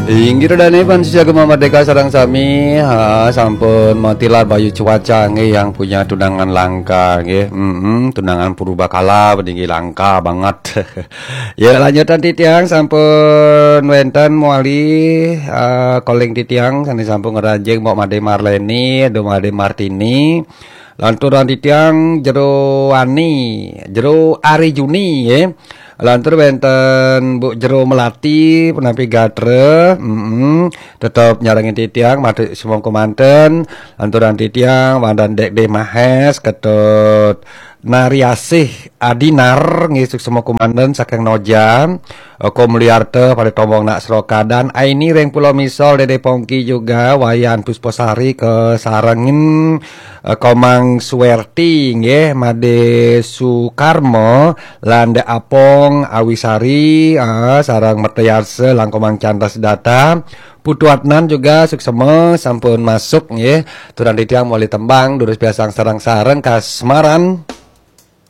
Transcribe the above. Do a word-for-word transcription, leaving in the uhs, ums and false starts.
Inggih dane pan sisiagama merdeka sareng sami, ha, sampun matilar bayu cuaca nggih yang punya tunangan langka nggih. Mm-mm, tunangan purbakala peninggi langka banget. Ya, lanjutan titiang sampun wenten mewali, eh, calling titiang sane sampun ngranjing Mbok Made Marleni, Ado Made Martini. Lanturan titiang Jero Wani, Jero Ari Juni nggih. Lantur wenten Bu Jero Melati, penampi gatra, mm tetep nyarengin titiang, matur semongko manten, lanturan titiang, wonten Dek De Mahes, Ketut Nariasih Adinar, nggih suksma kumanten saking Noja, Oko Mulyarta, pada tombong nak seroka, dan Aini ring Pulau Misol, Dede Pongki juga, Wayan Pusposari, kesarengin, eh, Komang Suwerti, nggih, Made Sukarmo, Landa Apong, Awisari, ah, sareng Mertayarsa, Langkomang Chandra Sedata, Putu Adnan juga suksma sampun masuk nggih. Turang titiang mewali tembang, durus piarsang sareng-sareng kasmaran.